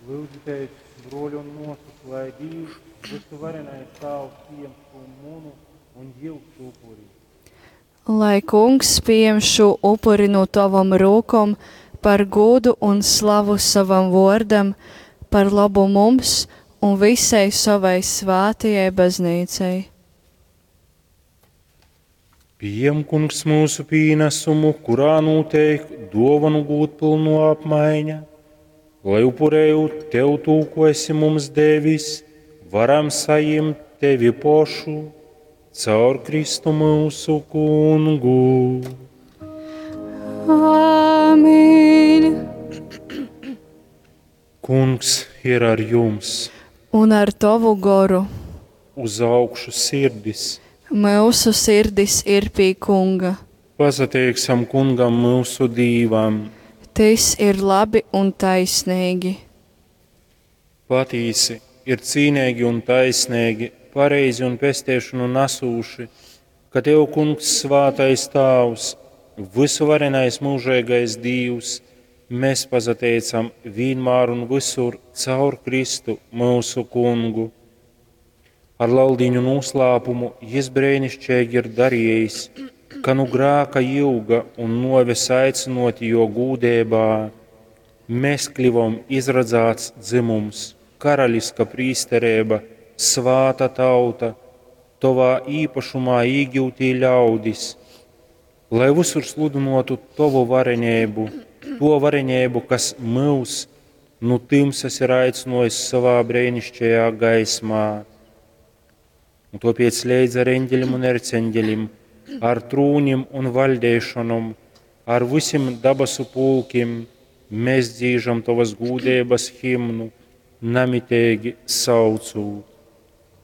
Lyudzitēs, bruoļi un muosys, lai Dīvs, vysuvarenais Tāvs, pījem šū munu un jyusu upuri. Lai Kungs pījem šū upuri nu tovom rūkom par gūdu un slavu sovam vuordam, par lobu mums un visai sovai svātajai Bazneicai. Pījem, Kungs, myusu pīnasumu, kurā nūteik duovonu gūdpylnuo apmaiņa, lai upurējūt Tev tū, ko esi mums devis, varam sajimt Tevi pošu caur Kristu myusu Kungu. Āmen! Kungs ir ar jums! Un ar tovu goru. Uz augšu sirdis! Myusu sirdis ir pie Kunga. Pasateiksim Kungam myusu Dīvam! Tys ir labi un taisneigi. Patīsi, ir cīneigi un taisneigi, pareizi un pesteišonu nasūši, ka Tev, Kungs, svātais Tāvs, vysuvarenais myužeigais Dīvs, mēs pasateicam vīnmār un visur caur Kristu myusu Kungu. Ar Leldīņu noslēpumu Jis breinišķeigi ir darījis, ka nu grāka jūga un nuoves aicynoti jo gūdībā, mēs kļuvom izradzāts dzimums, karaliska prīsterība, svāta tauta, tovā īpašumā īgūtī ļaudis, lai visur sludinotu tovu varenību, to varenību, kas mūs nu tumsas ir aicinājis savā brīnišķīgajā gaismā. Un tāpēc līdz ar eņģelim un erceņģelim, ar trūnim un valdīšanom, ar visiem dabasu pulkim, mēs dzīžam tavas gūdības himnu, namitīgi saucūt.